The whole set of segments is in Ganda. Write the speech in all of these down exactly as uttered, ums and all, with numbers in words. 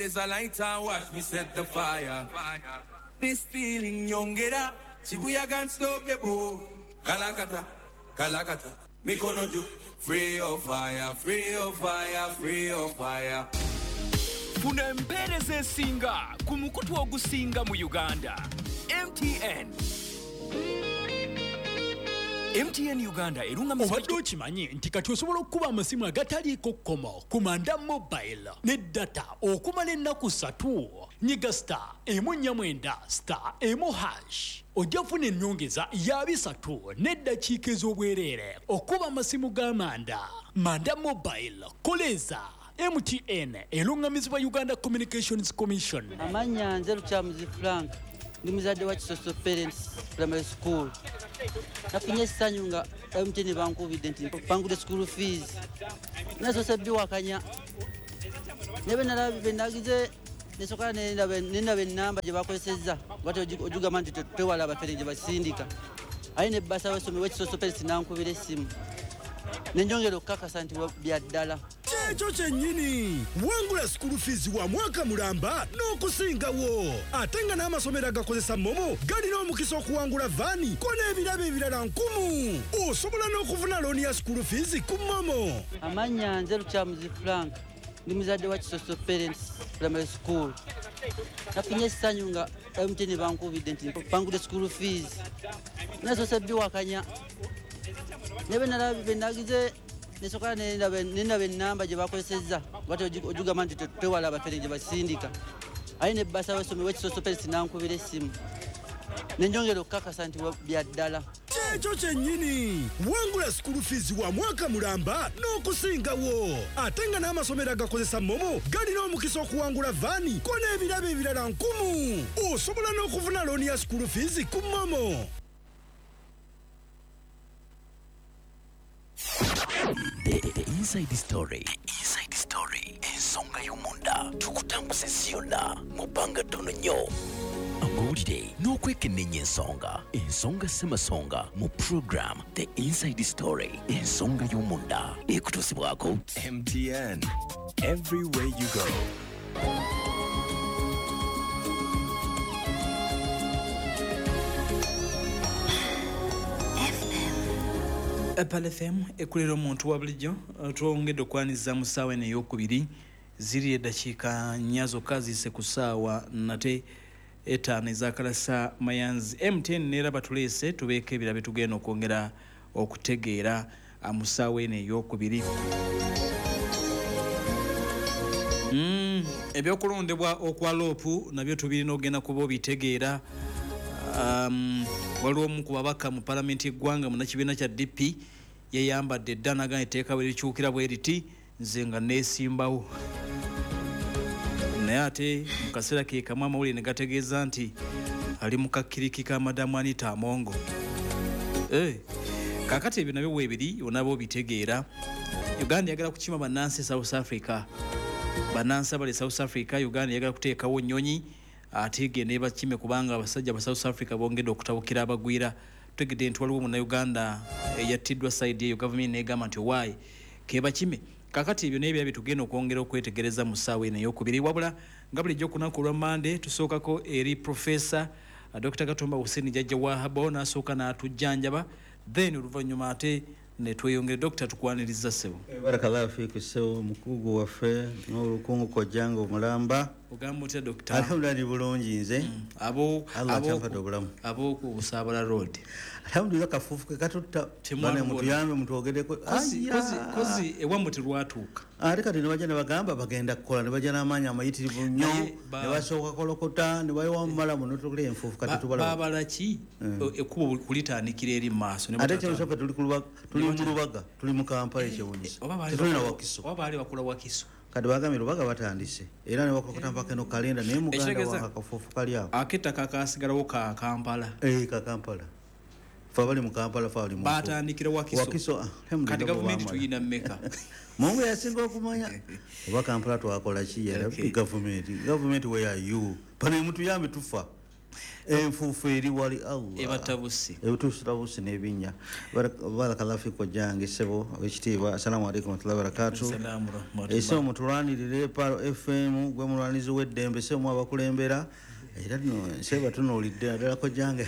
There's a light and watch me set the fire. This feeling yongera, Shibuya can't stop the boat. Kalakata, kalakata, mikono juu. Free of fire, free of fire, free of fire. Funa empeereza esinga ku mukutu ogusinga mu Uganda. M T N. M T N Uganda erungamizibwa. Obadde okimanyi nti kati osobola okukuba amasimu agataliiko kkomo ku Manda Mobile ne data okumala ennaku ssatu. Nyiga star emu nnya mwenda star emu hash. Ojja kufuna ennyongeza ya bisatu n'eddakiika ez'obwereere okuba amasimu ga Manda. Manda Mobile, koleza. M T N erungamizibwa Uganda Communications Commission. Amannya nze Lukyamuzi Frank, ndi muzadde wa Kisoso Parents Primary School. Nafunye essanyu nga M T N bankubidde nti mpangudde school fees. Nasoose biwakanya. Ne bwe nalabye bwe nagize nesooka nendaba ennamba gye bakozesezza bw'atyo ogigamba nti tewala abafere gye basindika. Aye ne bbasa w'essomero w'Ekisoso Parents n'ankubira essimu. Ne njongera okukakasa nti bya ddala. Kyekyo kyennyini, wangula school fees wa mwaka mulamba n'okusingawo. Ate nga n'amasomero agakozesa MoMo galina omukisa okuwangula vaani ko n'ebirabo ebirala nkumu. Osobola n'okufuna looni ya school fees ku MoMo. Amannya nze Lukyamuzi Frank, ndi muzadde wa Kisoso Parents Primary School. Nafunye essanyu nga M T N bankubidde nti mpangudde school fees. Nasoose biwakanya. Ne bwe nalabye bwe nagize nesooka nendaba ennamba gye bakozesezza bw'atyo ogigamba nti tewala abafere gye basindika. Aye ne bbasa w'essomero w'Ekisoso Parents n'ankubira essimu. Ne njongera okukakasa nti bya ddala. Kyekyo kyennyini, wangula school fees wa mwaka mulamba n'okusingawo. Ate nga n'amasomero agakozesa MoMo galina omukisa okuwangula vaani ko n'ebirabo ebirala nkumu. Osobola n'okufuna looni ya school fees ku MoMo. The, the Inside Story. The Inside Story. Ensonga y'omunda tukutambuza ensi yonna mu bbanga ttono nnyo. Amawulire n'okwekenneenya ensonga. Ensonga ssemasonga mu program The Inside Story. Ensonga y'omunda ekutuusibwako M T N. Everywhere you go. Apple F M ekulera omuntu wa bulijjo twongedde okwaniriza mu ssaawa eno ey'okubiri ziri eddakiika nnya zokka ziyise ku ssaawa nate etaano ez'akalasa mayanzi. M T N neera batuleese tubeeko ebirala bye tugenda okwongera okutegeera mu ssaawa eno ey'okubiri. Mm, ebyokulondebwa okwa loopu nabyo tubirina okugenda kuba obitegeera. Um, waliwo omu ku babaka mu palamenti y'eggwanga munnakibiina kya D P yeyambadde dda n'agamba etteeka bwe likyukira bwe riti nze nga neesimbawo. Naye ate mu kaseera ke kamu amawulire ne gategeeza nti ali mu kakkiriki ka Madamu Anita Amongo. Eh, kaakati ebyo nabyo weebiri onaaba obitegeera. Uganda eyagala kukima bannansi South Africa. Bannansi abali South Africa, Uganda eyagala kuteekawo nnyonyi ate egende bakime kubanga abasajja ba South Africa bongedde okutabukira abagwira. Tutegedde nti waliwo munnayuganda eyattiddwa side eyo gavumenti n'egamba nti owaayi kebakime. Kaakati ebyo n'ebirala bye tugenda okwongera okwetegereza mu ssaawa eno ey'okubiri. Wabula nga bulijjo ku lunaku olwa Mmande tusookako eri Professor Dokita Katumba Hussein Jjajja Wahabo n'asooka n'atujjanjaba, then oluvannyuma ate ne tweyongere. Dokita tukwaniriza ssebo. Barakallahu fiiku ssebo mukugu waffe n'olukungu kojjanga omulamba. Ogamba otya Dokita? Alhamdulillah ndi bulungi nze. Mm. Abo abo abo ku Busaabala Road. Alhamdulillah kafuufu ke katutta bane mutuyambe mutwogereko. Kozi kozi kozi ewammwe terwatuuka. Ate kati ne bajja ne bagamba bagenda kukola ne bajja n'amaanyi amayitirivu nnyo ne basooka kolokota ne bayiwa mumalamu n'otukolera enfuufu kati tubala. Baabala ki ekkubo kulitandikira eri mu maaso. Ate kyewunyisa tuli ku Lubaga, tuli mu Lubaga, tuli mu Kampala ekyewunyisa. Tetulina Wakiso. Oba baali bakola Wakiso. Kati bagambye Lubaga batandise era ne bakolokota mpaka eno kalenda naye muganda wange akafuufu kali awo. Ak'ettaka kaasigalawo ka Kampala. Eh, ka Kampala. Ffe abali mu Kampala ffe abali mu Batandikira Wakiso. Wakiso, kati gavumenti tuyina mmeka? Mungu yasinga okumanya. Oba Kampala twakola ki yera gavumenti. Gavumenti where are you? Pano mutuyambe tufa. Enfuufu eri wali Allah ebatabuse ebatabuse n'ebinnya. Barakallahu fikum jange ssebo owekitiibwa. Assalamu alaikum warahmatullahi wabarakatuh. Ese mutulwanirire Paro F M gwe mulwanizi w'eddembe ssebo abakulembera era nno nseba tunuulidde naddala jange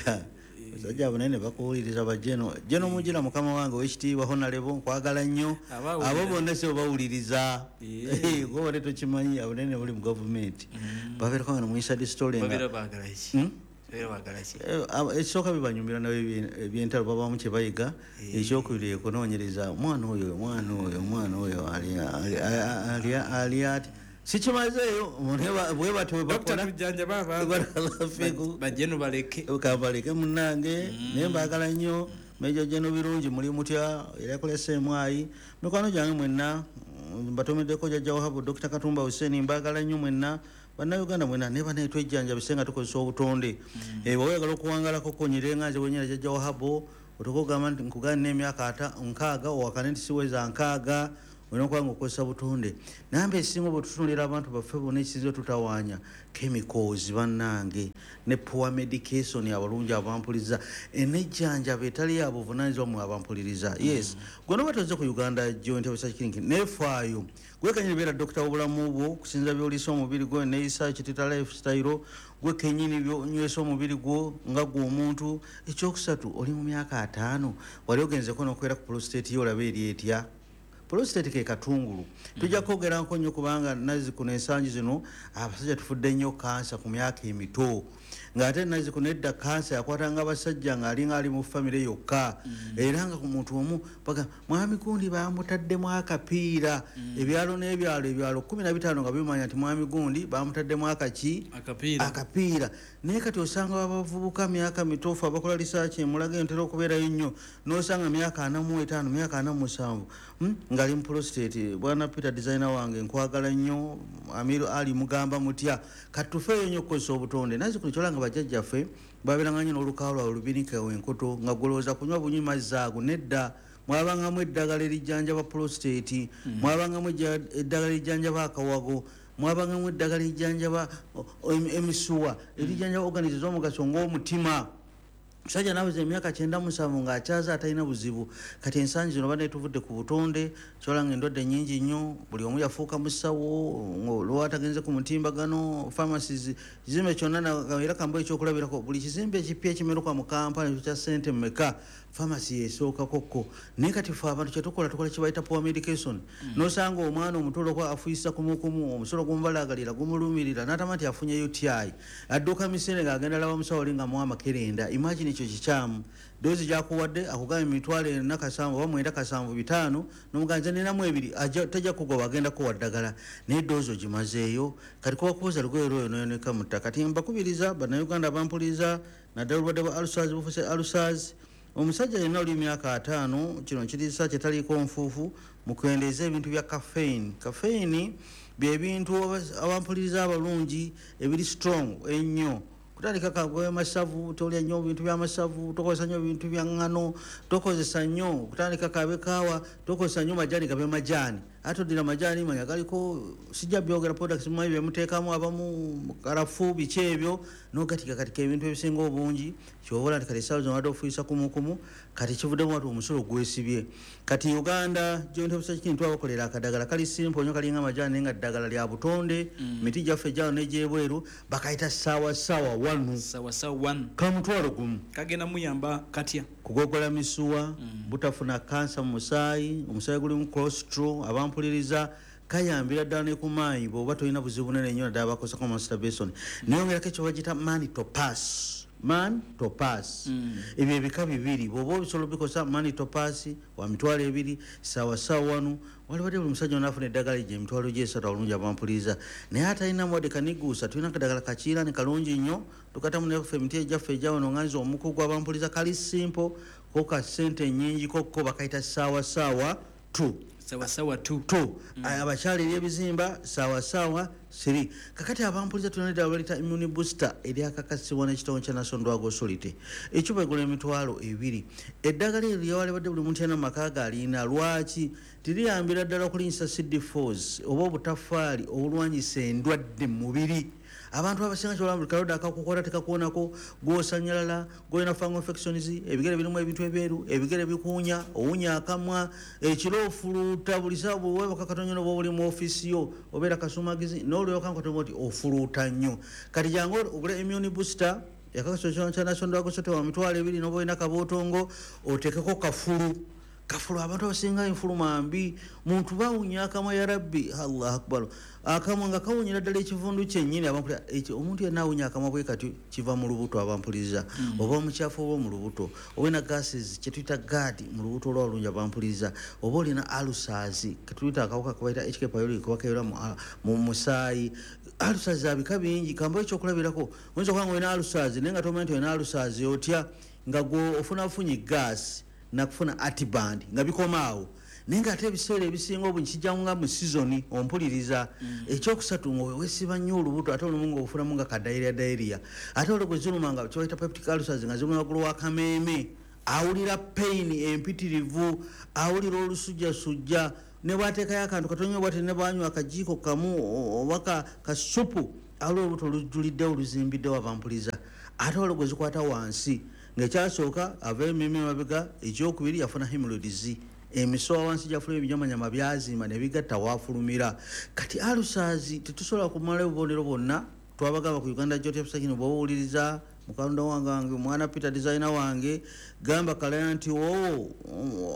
basajja abanene bakuwuliriza bajeno jeno mujira mukama wange owekitiibwa Honorable nkwagala nnyo abo bonna ssebo bawuliriza gwe tokimanyi abanene bali mu gavumenti babeerako nga mu inside story nga baagala ki ekisooka bibanyumira nabo ebyentalo babamu kye bayiga. Ekyokubiri okunoonyereza omwana oyo omwana oyo omwana oyo ali ati sikimazeeyo bwe batyo bwe bakola bajeno baleke baleke munnange naye mbaagala nnyo. Mejo jeno birungi muli mutya era yakola S M I mikwano gyange mwenna mbatomeddeko jjajja Wahabu Dokita Katumba Hussein mbaagala nnyo mwenna bannayuganda mwenna ne banaye twejjanjabise nga tukozesa obutonde. Bw'oba oyagala okuwangalako konyere nga nze wenyera jjajja Wahabu otukugamba nti nkugane n'emyaka nkaaga owakane nti siweza nkaaga olina okuba nga okozesa butonde. Namba esinga bwe tutunuulira abantu baffe bonna ekisinza tutawaanya chemicals bannange ne poor medication abalungi abampuliriza enejjanjaba etali ya buvunaanyizibwa mmwe abampuliriza. Yes, gwe noba tozze ku Uganda Joint Research Clinic neefaayo gwe kennyini beera dokita w'obulamu bwo okusinziira by'oliisa omubiri gwo neeyisa kitita lifestyle gwe kennyini byonywesa omubiri gwo nga gwe omuntu. Ekyokusatu oli mu myaka ataano wali ogenzeko n'okwera ku prostate yo olabe eri etya. Prostate ke katungulu tujja kwogerako nnyo kubanga nazzi kuno ensangi zino abasajja tufudde nnyo kansa ku myaka emito ng'ate nazzi kuno edda kansa yakwatanga abasajja ng'alinga ali mu famire yokka era nga ku muntu omu baga mwami gundi bamutaddemu akapiira ebyalo n'ebyalo ebyalo kkumi na bitaano nga bimanya nti mwami gundi bamutaddemu akaki akapiira. Naye kati osanga abavubuka myaka mitofu abakola research emulaga entera okubeerayo nnyo n'osanga myaka ana mu etaano myaka ana mu musanvu ngali mu prostate. Bwana Peter designer wange nkwagala nnyo Amiru Ali mugamba mutya kati tufeeyo nnyo okukozesa obutonde. Nazzi kuno kyolanga bajjajjaffe babeeranga nnyo n'olukaawo lwabwe lubinika enkoto nga golowooza kunywa bunywi mazzi ago nedda. Mwabangamu eddagala erijjanjaba prostate, mwabangamu eddagala erijjanjaba akawago, mwabangamu eddagala erijjanjaba emisuwa erijjanjaba organisms ez'omugaso ng'omutima. Musajja naweza emyaka kyenda musanvu ng'akyaza atalina buzibu. Kati ensangi zino badde tuvudde ku butonde kyolanga endwadde nnyingi nnyo buli omu yafuuka musawo lwatagenze ku mutimbagano pharmacies kizimbe kyonna era kambo ekyokulabirako buli kizimbe ekipya ekimeruka mu kampala ekyo kya ssente mmeka pharmacy esookakokko. Naye kati ffe abantu kyetukola tukola kye bayita poor medication n'osanga omwana omuto olwokuba afuuyisa kumukumu omusolo gumubalagalira gumulumirira n'atama nti afunye U T I adduka misinde ng'agenda laba musawo oli nga muwa amakerenda. Imagine ekyo kikyamu doozi gyakuwadde akugamba emitwalo ena kasanvu oba mwenda kasanvu bitaano n'omuganza ninamu ebiri tajja kugoba agenda kuwa ddagala naye doozi ogimazeeyo. Kati kuba kuwoza lugoye lwoyo noyoneka mu ttaka. Kati mbakubiriza bannayuganda abampuliriza naddala obulwadde bwa ulcers bufuse ulcers. Omusajja yenna oli myaka ataano kino kiriisa kyetaliiko nfuufu mukendeeze ebintu bya caffeine. Caffeine bye bintu abampuliriza abalungi ebiri strong ennyo kutandika kagwe masavu tolya nnyo bintu bya masavu tokozesa nnyo bintu bya ŋŋano tokozesa nnyo kutandika kabe kaawa tokozesa nnyo majani gabe majani ate oddira majani manya galiko sijja byogera products mumanyi bye muteekamu abamu karafu biki ebyo n'ogatika katika ebintu ebisinga obungi kyobola nti kati essaawa zino wadde ofuuyisa kumukumu kati kivuddemu wati omusulo gwesibye. Kati Uganda Joint Research Clinic twabakolera akadagala kali simple nnyo kalinga majani naye nga ddagala lya butonde miti gyaffe gyano n'egyebweru bakayita saawa saawa wanu sawa sawa wanu kamutwalo gumu kagenda muyamba katya kugogola misuwa butafuna kansa mu musaayi omusaayi gulimu cholesterol abampuliriza kayambira ddala ne ku maanyi bw'oba tolina buzibu bunene nnyo naddala bakozesako masturbation. Nayongerako ekyo bagiyita man to pass man to pass ebyo ebika bibiri bw'oba obisobola obikosa man to pass wa mitwalo ebiri sawa sawa wanu walibadde buli musajja onaafuna eddagala egyo emitwalo gyesatu abalungi abampuliriza naye atalinamu wadde kaniguusa tulina akadagala kakiiraani kalungi nnyo tukatamu naffe emiti egyaffe egyawano nga nze omukugu abampuliza kali simple ko ka ssente nnyingi kokko bakayita saawa saawa two sawa sawa two two abakyala eri ebizimba sawa sawa three. Kakati abampuliza tulina eddagala baliyita immune booster eryakakasibwa n'ekitongole kya National Drug Authority. Ecupa egula emitwalo ebiri. Eddagala eryo lyawalibadde buli muntu yenna mu maka ge alina. Lwaki? Tiriyambira ddala okulinyisa C D fours oba obutafaali obulwanyisa endwadde mu mubiri. Abantu abasinga kyolaba buli kalodde akakukola tekakuwonako, gw'osanyalala, gw'olina fungal infections, ebigere birimu ebintu ebyeru, ebigere bikuwunya, owunya akamwa, ekiro ofuluuta buli ssaawa bw'oweebaka katono nnyo bw'oba oli mu ofiisi yo, obeera kasumagizi, n'olyoka nkatono nti ofuluuta nnyo. Kati jangu ogule immune booster, yakakasibwa kya National Drug Authority wa mitwalo ebiri n'oba olina kabootongo, oteekeko kafulu. Kafulu abantu abasinga enfuluma mbi, muntu bawunya akamwa ya Rabbi, Allahu Akbar. Akamwa nga kawunyira ddala ekivundu kyennyini abampulira, ekyo omuntu yenna awunya akamwa bwe kati kiva mu lubuto abampuliriza, mm. oba omukyafu oba mu lubuto, oba olina gases kye tuyita GERD mu lubuto olwalungi abampuliriza, oba olina ulcers ke tuyita akawuka ke bayita H K pylori kuba kebeera mu musaayi. Ulcers za bika bingi, kambawo ekyokulabirako, oyinza okuba nga olina ulcers naye nga tomanyi nti olina ulcers otya, nga gwe ofunafunye gas nakufuna atiband nga bikoma awo. Naye ng'ate ebiseera ebisinga obungi kijja nga mu sizoni ompuliriza. Mm. Ekyokusatu nga weesiba nnyo olubuto ate olumu ng'ofunamu nga ka diarrhea diarrhea. Ate olwo gwe ziruma nga kye bayita peptic ulcers nga ziruma waggulu w'akameeme, awulira pain empitirivu, awulira olusujjasujja, ne bw'ateekayo akantu katono nnyo bw'ati ne bw'anywa akajiiko kamu oba ka kasupu, awulira olubuto olujjuliddewo oluzimbiddewo abampuliza. Ate olwo gwe zikwata wansi ng'ekyasooka ava emimwa emabega, ekyokubiri yafuna hemorrhoids, emisowa wansi gyafuluma ebinyamanyama byazimba ne bigatta waafulumira. Kati ulcers tetusobola kumala obubonero bwonna, twabagamba ku Uganda Joint Obstetric bw'oba owuliriza mukalonda wange mwana Peter designer wange, gamba kalaya nti oo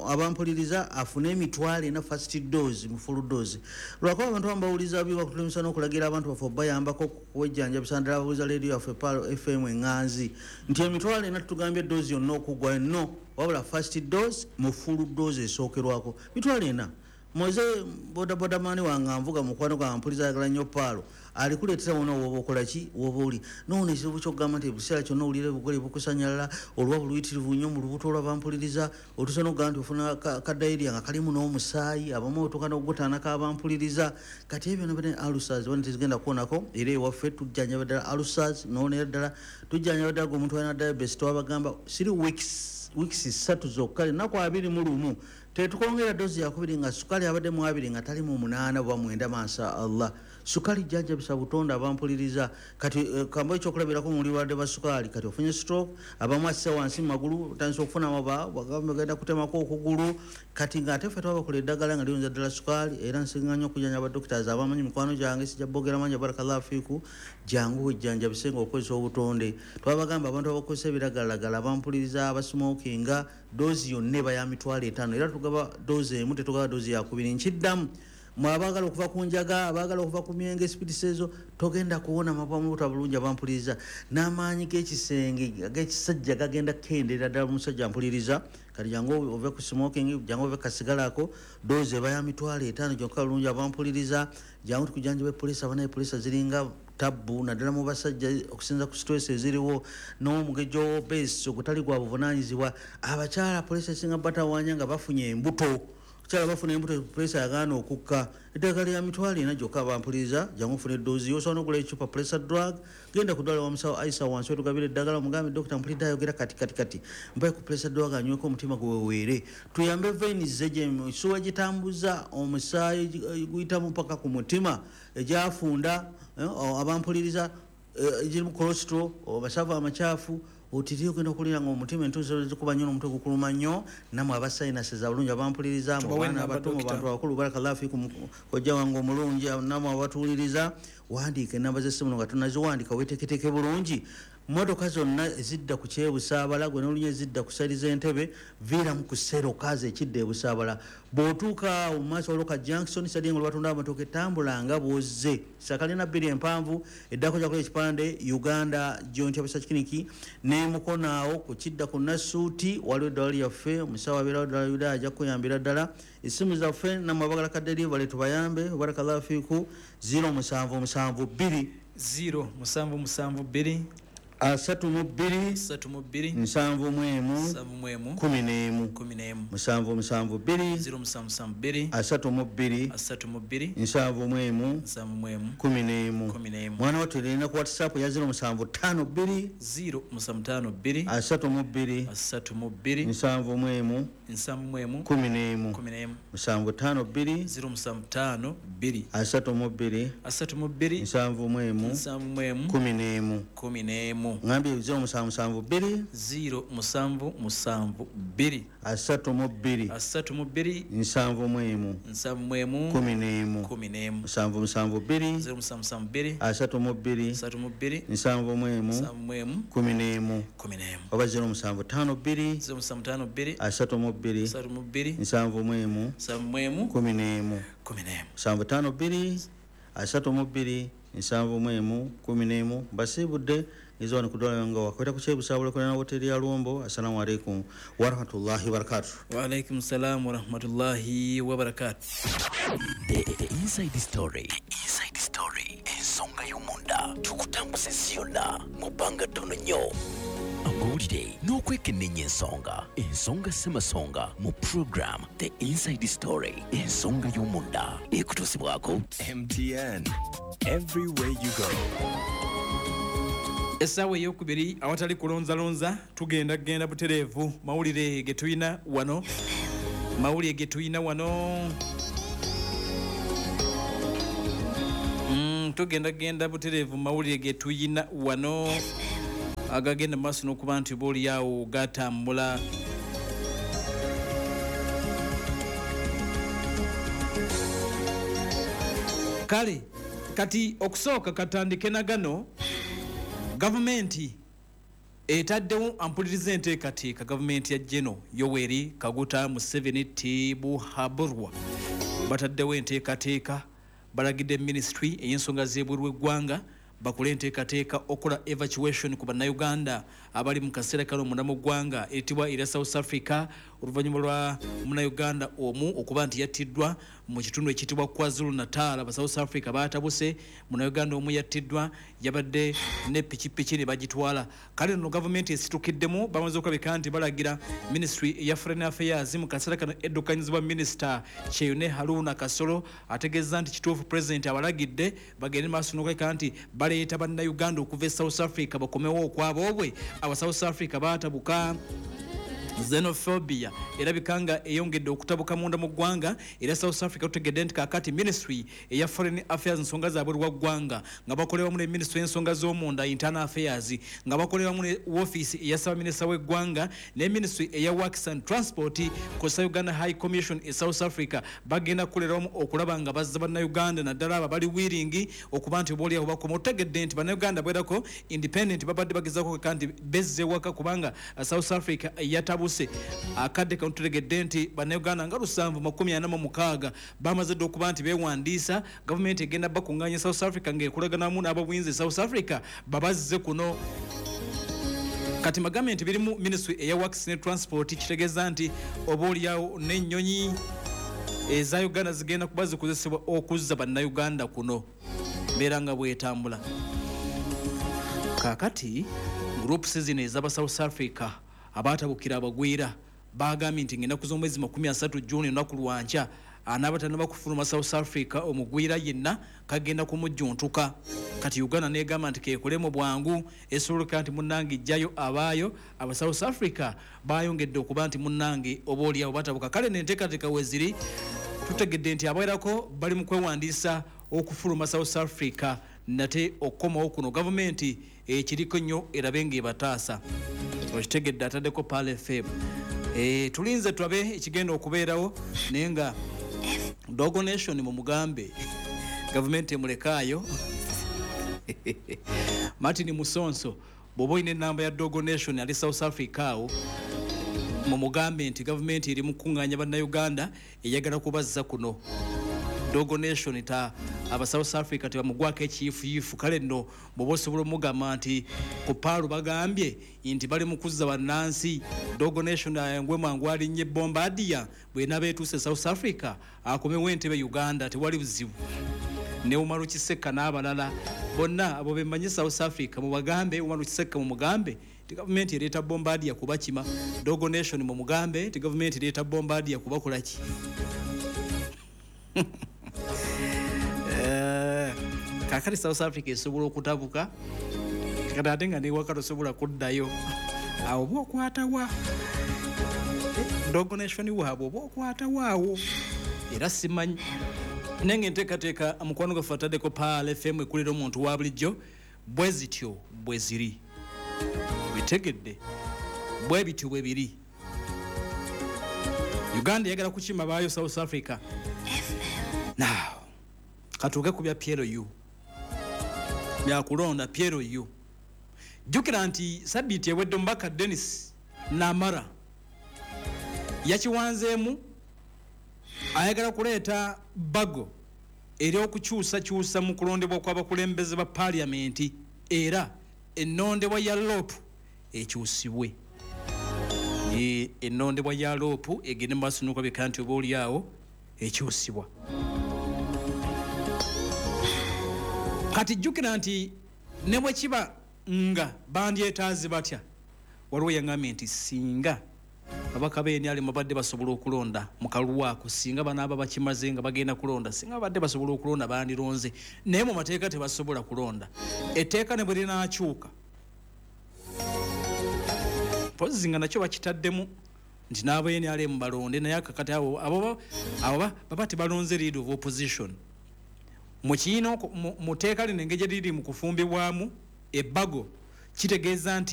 abampuliriza afune emitwalo ena first dose mu full dose. Lwakuba abantu abamu bawuliriza bi bakutulemesa n'okulagira abantu baffe obayambako okwejjanjabisa ddala abawuliza leediyo yaffe Pearl F M eŋŋanzi nti emitwalo ena tutugambye dose yonna okuggwa no, wabula first dose mu full dose esookerwako mitwalo ena. Moze bodaboda mani wange anvuga mukwano gwange mpuliza ayagala nnyo Pearl, alikuleetera wonna w'oba okola ki w'oba oli. Noono ekizibu ky'okugamba nti ebiseera kyonna owulira ebigole bikusanyalala, oluba buluyitirivu nnyo mu lubuto olw'abampuliriza, otuuse n'okugamba nti ofuna ka diarrhea nga kalimu n'omusaayi, abamu otuuka n'okugutaanako abampuliriza. Kati ebyo byonna byonna ulcers bano tezigenda kuwonako, era ewaffe tujjanjaba ddala ulcers, n'owonera ddala tujjanjaba ddala gwe omuntu alina diabetes twabagamba three weeks, weeks ssatu zokka, ennaku abiri mu lumu tetukwongera dozi yakubiri nga sukali abadde mu abiri nga tali mu munaana oba mwenda masha Allah. Sukali jjanjabisa butonde abampuliriza. Kati eh, kambo ekyokulabirako mu bulwadde bwa sukali, kati ofunye stroke, abamu asse wansi mu magulu, otandise okufuna amaba, bagamba bagenda kutemako okugulu. Kati ng'ate ffe twabakola eddagala nga liyonza ddala sukali, era nsinga nnyo okujjanjaba doctors abamanyi mikwano gyange, sijja boogera mangi, barakallahu fiiku, jangu wejjanjabise ng'okozesa obutonde. Twabagamba abantu abakozesa ebiragalalagala abampuliriza, abasmokinga, doozi yonna eba ya mitwalo etaano, era tugaba doozi emu, tetugaba doozi yakubiri. Nkiddamu, mwe abaagala okuva ku njaga, abaagala okuva ku myenge, spirits ezo, togenda kuwona mabwa mu buto bulungi abampuliriza. N'amaanyi g'ekisenge ag'ekisajja gagenda kukendeera ddala omusajja mpuliriza. Kati jangu ove ku smoking, jangu ove kasigalako, doozi eba ya mitwalo etaano gyokka bulungi abampuliriza. Jangu tukujjanjabe poliisi, abanaye poliisi ziringa tabbu naddala mu basajja okusinza ku stress eziriwo n'omugejjo w'obese ogutali gwa buvunaanyizibwa. Abakyala poliisi esinga batawaanya nga bafunye embuto, abakyala bafuna embuto poliisi yagaana okukka. Eddagala lya mitwalo ena gyokka abampuliriza, jangu ofune eddoozi yo, osobola n'okugula ecupa pressure drug, genda ku ddwaliro wa musawo Aisha wansi otugabire eddagala, omugambe dokita mpulidde ayogera kati kati kati, mpaye ku pressure drug anyweko omutima guweweere, tuyambe veins emisuwa egitambuza omusaayi guyitamu paka ku mutima egyafunda abampuliriza, egirimu cholesterol, amasavu amakyafu, otiri ogenda okulira nga omutima entuuso zikuba nnyo n'omutwe gukuluma nnyo. Nammwe aba sinuses abalungi abampuliriza, mu baana abato, mu bantu abakulu, barakallahu fiikum, kojja wange omulungi, nammwe abatuwuliriza, wandiika ennamba z'essimu nga tonnaziwandiika, weeteeketeeke bulungi. Mmotoka zonna ezidda ku Kyebusaabala, gwe n'olunya ezidda ku sayidi z'Entebe, viiramu ku Serokazi ekidda e Busaabala. Bw'otuuka awo mu maaso waliwo ka junction, sayidi nga batunda amatooke, tambula nga bw'ozze. Sakalina bbiri empanvu, eddako kyakola ekipande Uganda Joint Obstetric Clinic, ne mukono awo ku kidda ku Nassuuti waliwo eddwaliro lyaffe, omusawo abeerawo ddala Yuda ajja kukuyambira ddala. Essimu zaffe nammwe abagala ka delivery tubayambe, barakallahu fiiku, zero musanvu musanvu bbiri zero musanvu musanvu bbiri Asatu mu bbiri asatu mu bbiri nsanvu mu emu nsanvu mu emu kumi n'emu kumi n'emu musanvu musanvu bbiri ziro musanvu musanvu bbiri asatu mu bbiri asatu mu bbiri nsanvu mu emu nsanvu mu emu kumi n'emu kumi n'emu. Mwana wattu erina ku WhatsApp ya ziro musanvu ttaano bbiri ziro musanvu ttaano bbiri asatu mu bbiri asatu mu bbiri nsanvu mu emu nsanvu mu emu kumi n'emu kumi n'emu musanvu ttaano bbiri ziro musanvu ttaano bbiri asatu mu bbiri asatu mu bbiri nsanvu mu emu nsanvu mu emu kumi n'emu kumi n'emu. Ngambye ziro musanvu musanvu bbiri ziro musanvu musanvu bbiri asatu mu bbiri asatu mu bbiri nsanvu mu emu nsanvu mu emu kumi n'emu kumi n'emu musanvu musanvu bbiri ziro musanvu musanvu bbiri asatu mu bbiri asatu mu bbiri nsanvu mu emu nsanvu mu emu kumi n'emu kumi n'emu oba ziro musanvu ttaano bbiri ziro musanvu ttaano bbiri asatu mu bbiri asatu mu bbiri nsanvu mu emu nsanvu mu emu kumi n'emu kumi n'emu musanvu ttaano bbiri asatu mu bbiri nsanvu mu emu kumi n'emu. Mbasiibudde ngezo wano kudola nga wakweta ku kyebusabula kulana hoteli ya Luwombo. Assalamu alaikum warahmatullahi wabarakatuh. Wa alaikum salam warahmatullahi wabarakatuh. The, the Inside Story. The Inside Story. Ensonga y'omunda tukutambuza ensi yonna mu bbanga ttono nnyo. Amawulire n'okwekenneenya ensonga. Ensonga ssemasonga mu program The Inside Story. Ensonga y'omunda ekutuusibwako M T N. Everywhere you go. Essaawa ey'okubiri awatali kulonzalonza tugenda kugenda butereevu mawulire ge tulina wano mawulire ge tulina wano mm, tugenda kugenda butereevu mawulire ge tulina wano agagenda maaso n'okuba nti boolyawo gatambula. Kale kati okusooka katandike na gano. Gavumenti etaddewo ampuliriza enteekateeka gavumenti ya Geno Yoweri Kaguta Museveni Tibuhaburwa bataddewo enteekateeka, balagidde ministry ey'ensonga z'ebweru w'eggwanga bakole enteekateeka okola evacuation ku bannayuganda abali mu kaseera kano munda mu ggwanga eritibwa era South Africa oluvannyuma lwa munnayuganda omu okuba nti yattiddwa mu kitundu ekiyitibwa KwaZulu Natal. Aba South Africa baatabuse, munnayuganda omu yattiddwa, yabadde ne pikipiki ne bagitwala. Kale nno gavumenti esitukiddemu, bamaze okulabika nti balagira ministry eya Foreign Affairs mu kaseera kano eddukanyizibwa minisita Kyeyune Haruna Kasolo ategeeza nti kituufu pulezidenti abalagidde bagende maaso n'okulabika nti baleeta bannayuganda okuva e South Africa bakomewo okwaboobwe. Aba South Africa baatabuka. Xenophobia erabika nga eyongedde okutabuka munda mu ggwanga era South Africa tutegedde nti kaakati ministry eya Foreign Affairs ensonga zaabwe lwa ggwanga nga bakoleramu ne ministry y'ensonga z'omunda Internal Affairs nga bakoleramu ne office eya ssaabaminisita w'eggwanga ne ministry eya Works and Transport kw'ossa Uganda High Commission e South Africa bagenda kukoleramu okulaba nga bazza bannayuganda naddala abo abali willing okuba nti boolyawo bakoma. Otegedde nti bannayuganda bwerako independent babadde bagezaako nti bezze waka kubanga South Africa yatabu akadde kano tutegedde nti bannayuganda nga lusanvu makumi ana mu mukaaga bamaze dda okuba nti beewandiisa. Gavumenti egenda bakuŋŋaanya South Africa ng'ekolaganamu n'ababuyinza e South Africa babazze kuno. Kati magambe nti birimu ministry eya Works ne Transport kitegeeza nti oba oliawo n'ennyonyi eza Uganda zigenda kuba zikozesebwa okuzza bannayuganda kuno mbeera nga bwetambula. Kaakati groups zino ez'aba South Africa abatabukira abagwira bagambye nti ng'ennaku z'omwezi makumi asatu Juni olunaku lwankya anaaba tannaba kufuluma South Africa omugwira yenna kagenda kumujjuntuka. Kati Uganda n'egamba nti keekole mu bwangu esoboleka nti munnange ijjayo abaayo aba South Africa bayongedde okuba nti munnange oba oliawo batabuka. Kale n'enteekateeka we ziri tutegedde nti abawerako bali mu kwewandiisa okufuluma South Africa nate okukomawo kuno. Gavumenti ekiriko nnyo erabe ng'ebataasa. Okitegedde ataddeko Pearl F M. Eh, tulinze tulabe ekigenda okubeerawo naye nga Dogo Nation mumugambe gavumenti emulekaayo. Martin Musonso bw'oba olina ennamba ya Dogo Nation ali South Africa awo mumugambe nti gavumenti eri mu kukuŋŋaanya bannayuganda eyagala kubazza kuno. Dogo Nation ta aba South Africa tebamugwako ekiyifuyifu. Kale nno bw'oba osobola omugamba nti ku Paalu bagambye nti bali mu kuzza bannansi, Dogo Nation ayangwe mangu alinnye Bombardier bw'enaaba etuuse South Africa akomewo entebe Uganda, tewali buzibu. Ne Umaru Kiseka n'abalala bonna abo bemanyi South Africa, mubagambe Umaru Kiseka, mumugambe nti gavumenti ereeta bombardier kubakima. Dogo Nation, mumugambe nti gavumenti ereeta bombardier kubakolaki. Eh, kakati South Africa esobola okutabuka kati ate nga newaka tosobola kuddayo. Awo oba okwatawa Dogo Nation waabwe, oba okwatawa awo era simanyi. Naye nga enteekateeka mukwano gwaffe ataddeko Pearl F M ekulira omuntu wa bulijjo bwe zityo bwe ziri, bitegedde bwe bityo bwe biri. Uganda eyagala kukima baayo South Africa. Now katuuke ku bya P L U, byakulonda P L U. Jjukira nti sabiiti ewedde omubaka Denis Namara yakiwanzeemu, ayagala kuleeta bbago ery'okukyusakyusa mu kulondebwa kw'abakulembeze ba paaliyamenti, era ennondebwa ya L O P ekyusibwe. E, ennondebwa ya L O P egende mu maaso n'okulabika nti oba oliawo ekyusibwa. Kati jjukira nti ne bwe kiba nga bandyetaaze batya, waliwo yaŋŋambye nti singa ababaka b'N R M babadde basobola okulonda mu kalulu ako, singa banaaba bakimaze nga bagenda kulonda, singa babadde basobola okulonda bandironze, naye mu mateeka tebasobola kulonda. Etteeka ne bwe linaakyuka, mpozi nga nakyo bakitaddemu nti n'aba N R M balonde, naye akakati abo abo abo baba tebalonze leader of opposition mu kiina. Mu tteeka lino engeri gye liri mu kufumbibwamu ebbago, kitegeeza nti